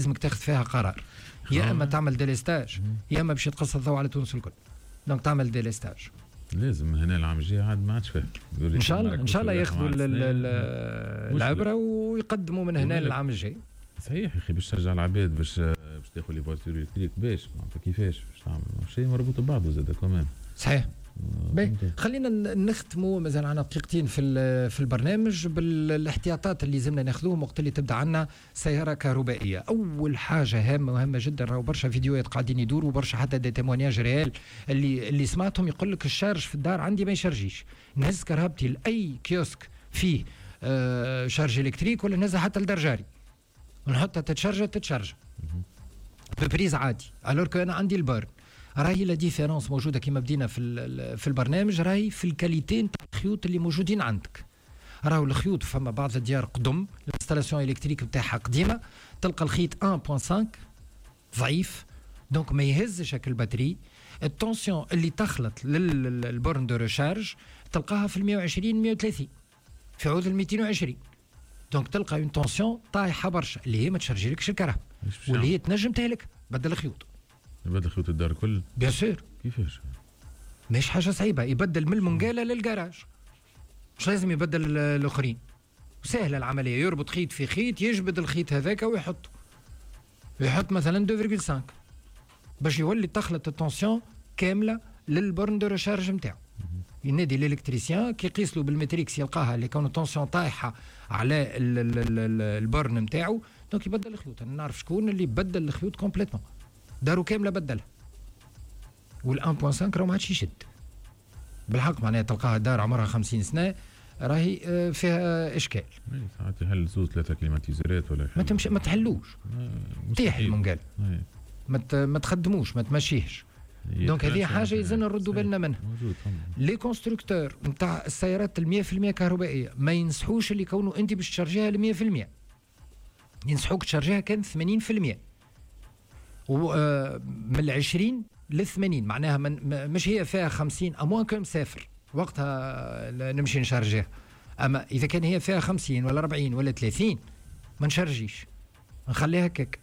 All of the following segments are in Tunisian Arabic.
لازمك تاخذ فيها قرار، يا اما تعمل délestage يا اما باش يتقص الضوء على تونس الكل. donc تعمل délestage. لازم هنا العام الجاي عاد ما عادش فيه. ان شاء الله، ان شاء الله ياخذوا العبرة ويقدموا من هنا للعام الجاي. صحيح يا اخي، باش تشجع العباد باش تاخذ les voitures électriques، باش معناتها كيفاش باش تعمل شيء مربوط ببعضه زاد كمان. صحيح. باهي، خلينا نختموا، مازال عندنا دقيقتين في البرنامج، بالاحتياطات اللي لازمنا ناخذوهم وقت اللي تبدا عندنا سيارة كهربائيه. اول حاجة هامة وهامه جدا، راهو برشا فيديوهات قاعدين يدوروا، برشا حتى des témoignages réels اللي سمعتهم، يقول لك ال charge في الدار عندي ما يشارجيش، نهز كرهبتي لاي كيوسك فيه charge électrique ولا نهزها حتى لدار جاري ونحطها تتشارج، تتشارج ب prise عادي، alors que انا عندي ال borne. راهي la différence موجوده، كما بدينا في البرنامج، راهي في ال qualité نتاع الخيوط اللي موجودين عندك. راهو الخيوط، فما بعض الديار قدم، l'installation électrique نتاعها قديمه، تلقى الخيط 1.5 ضعيف، donc ما يهزش هاك ال batterie. ال tension اللي تخلط لل borne de recharge تلقاها في 120 130 في عوض ال 220، donc تلقى une tension طايحة برشا اللي هي ما تشارجيلكش الكرهبة واللي هي تنجم تهلك. بدل الخيوط. يبدل خيوط الدار الكل؟ bien sûr. كيفاش؟ مش حاجة صعيبه، يبدل من المنقاله للجراج، مش لازم يبدل الاخرين. سهلة العمليه، يربط خيط في خيط، يجبد الخيط هذاك ويحط، يحط مثلا 2.5 باش يولي تخلط ال tension كاملة لل borne de recharge نتاعو. ينادي l'électricien، كي يقيس له بال métrix يلقاها اللي كون tension طايحة على ال borne نتاعو، donc يبدل الخيوط. انا نعرف شكون اللي بدل الخيوط complètement، دارو كاملة بدلها، وال 1.5 راه ما عادش يشد بالحق. معناها تلقاها دار عمرها 50 سنة راهي فيها اشكال. ساعات يحل زوز ثلاثة climatiseur ات ولا ما تمشي، ما تحلوش، تيح المنقال، ما تخدموش، ما تمشيهش. donc هذه حاجة يلزمنا نردوا بالنا منها. les constructeurs نتاع السيارات ال 100% كهربائية ما ينصحوش اللي كونوا انت باش تشارجيها ل 100%، ينصحوك تشارجيها كان 80% و من ال 20 لل 80، معناها من مش هي فيها 50، à moins que مسافر وقتها نمشي نشارجيها. اما اذا كان هي فيها 50 ولا 40 ولا 30 ما نشارجيش، نخليها هكاك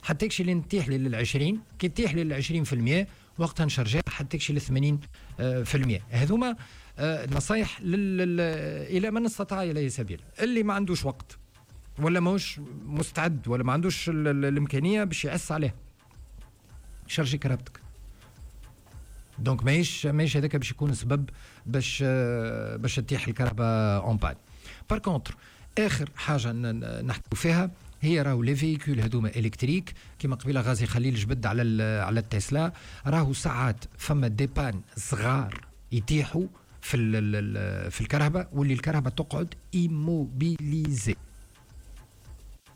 حتى يكشي اللي نتيح لي لل 20. كي تيح لي لل 20% وقتها نشارجيها حتى تكشي ل 80%. هذوما نصايح الى من استطاع اليه سبيلا. اللي ما عندوش وقت ولا ماهوش مستعد ولا ما عندوش الامكانية باش يعس عليها، شارجي كرهبتك. donc ماهيش هذاك باش يكون سبب باش تطيح الكرهبه en panne. par contre اخر حاجة نحكوا فيها هي راهو les véhicules هذوما électriques، كيما قبيلة غازي خليل جبد على التسلا، راهو ساعات فما des pannes صغار يتيحوا في الكرهبه واللي الكرهبه تقعد immobilisée.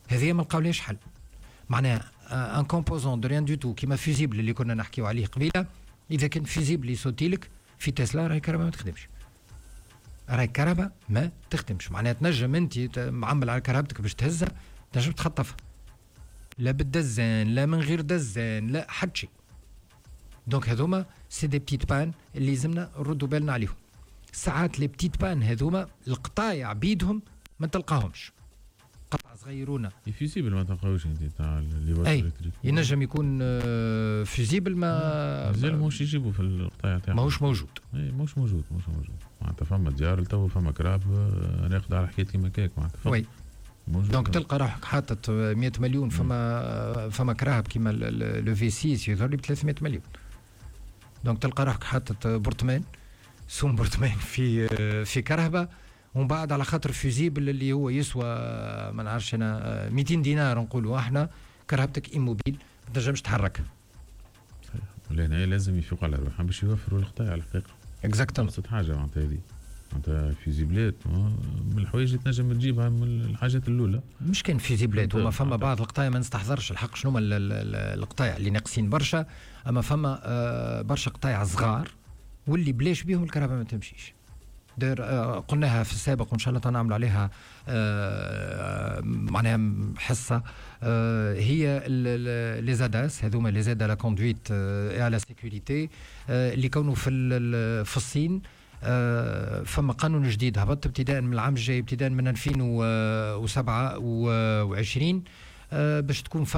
هذه ما لقاولهاش حل. معناها un composant de rien du tout كيما fusible اللي كنا نحكيو عليه قبيله، اذا كان fusible يسوتي لك في تسلا راهي الكرهبه ما تخدمش، راهي الكرهبه ما تخدمش. معناها تنجم انت معمل على كرهبتك باش تهزها، تنجم تخطفها لا بالدزان لا من غير دزان لا حتى شيء. donc هذوما c'est des petites pannes اللي لازمنا نردوا بالنا عليهم. ساعات les petites pannes هذوما القطايع بيدهم ما تلقاهمش، قطع صغيرونه. fusible ما تلقاوش انت تاع les اي ينجم يكون fusible ما مازال ماهوش يجيبوا في القطايع تاعهم. ماهوش موجود. اي ماهوش موجود، ماهوش موجود. معناتها فما ديار تو فما كراهب راقده على حكاية كيما كاك معناتها. oui، donc تلقى روحك حاطط 100 مليون، فما كراهب كيما le V6 يظهر لي ب 300 مليون، donc تلقى روحك حاطط برطمان، سوم برطمان في كرهبه، ومن بعد على خاطر fusible اللي هو يسوى ما نعرفش انا 200 دينار نقولوا احنا، كرهبتك immobile ما تنجمش تحركها. صحيح، ولهنا لازم يفيقوا على روحهم باش يوفروا القطايع على الحقيقه. exactement. ابسط حاجة معناتها هذه، معناتها fusible ات من الحوايج اللي تنجم تجيبها من الحاجات الاولى. مش كان fusible ات، هما فما بعض القطايع ما نستحضرش الحق شنو هما القطايع اللي ناقصين برشا، اما فما برشا قطايع صغار واللي بلاش بيهم الكرهبه ما تمشيش. دير قلناها في السابق وان شاء الله نعمل عليها معناها حصه، هي les ADAS هذوما، les aides à la conduite et à la sécurité اللي كونوا في الصين فما قانون جديد هبط ابتداء من العام الجاي، ابتداء من 2027، باش تكون فما